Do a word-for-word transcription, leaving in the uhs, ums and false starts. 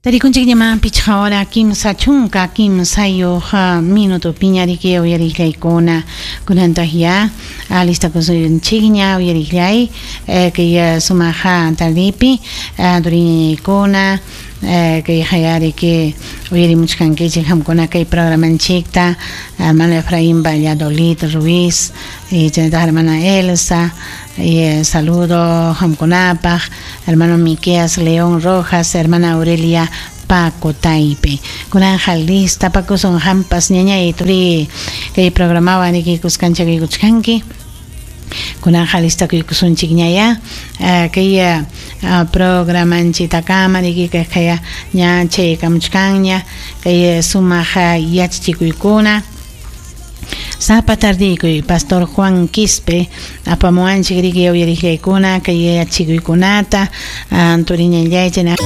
Tarikunchikñaman pichqa hora kimsa chunka kimsayuq minutupiña riki uyariqllaykuna kunantaq ya alistakusunchikña uyariqllay kay sumaq tardipi turiñañaykuna kay riki uyarimuchkankichik qamkuna kay programanchikta hermano Efraín Valladolid Ruiz y chaynataq hermana Elsa y saludo qamkunapaq hermano Miqueas León Rojas, hermana Aurelia Paco Taipe. Kunanja listapakusun hampas ñañay turi kay programawan riki kuskanchakuykuchkanki. Kunanja listakuykusunchikñaya kay programanchiktakama riki kay ña chaykamuchkanña kay sumaq yachachikuykuna. Sapa tardikuy Pastor Juan Quispe apamuwanchik riki uyariqllaykuna kay yachachikuykunata turiñallaychik.